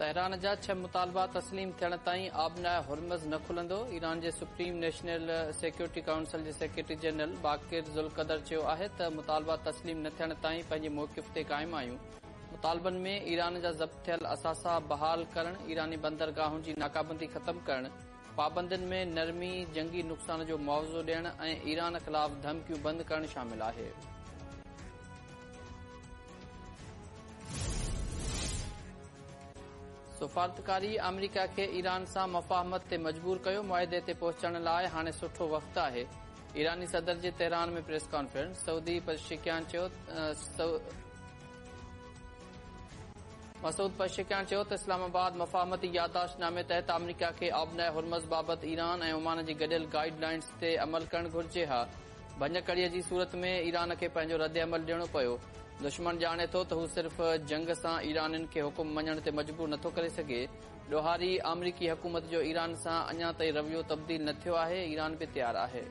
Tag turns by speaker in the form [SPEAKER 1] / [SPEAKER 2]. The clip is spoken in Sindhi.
[SPEAKER 1] تهران جا ڇهه مطالبا تسليم ٿيڻ تائين آبناء هرمز نه کلندو، ايران جي سپريم نيشنل سيڪيورٽي ڪائونسل جي سيڪريٽري جنرل باقر ذوالقدر چيو آهي ته مطالبا تسليم نه ٿيڻ تائين پنهنجي موقف تي قائم آهيون، مطالبن ۾ ايران جا ضبط ٿيل اثاثا بحال ڪرڻ، ايراني بندرگاهن جي ناڪابندي ختم ڪرڻ، پابندين ۾ نرمي، جنگي نقصان جو معاوضو ڏيڻ ۽ ايران خلاف ڌمڪيون بند ڪرڻ شامل آهي. سفارتڪاري آمريڪا کي ايران سان مفاهمت تي مجبور ڪيو، معاهدي تي پهچڻ لاء هاڻي سٺو وقت آهي، ايراني صدر جي Tehran ۾ press conference, Saudi Pezeshkian چيو مسعود پزشڪيان چيو ته اسلام آباد مفاهمتي يادداشت نامي تحت آمريڪا کي آبناء هرمز بابت ايران ۽ عمان جي گڏيل گائيڊ لائنز تي عمل ڪرڻ گهرجي ها، ڀڃڪڙي جي صورت ۾ ايران کي پنهنجو ردعمل ڏيڻو پيو. دشمن ڄاڻي ٿو ته هو صرف جنگ سان ايرانين کي حڪم مڃڻ تي مجبور نٿو ڪري سگهي. ڏوهاري آمريڪي حڪومت جو ايران سان اڃا تائين رويو تبديل نه ٿيو آهي، ايران به تيار آهي.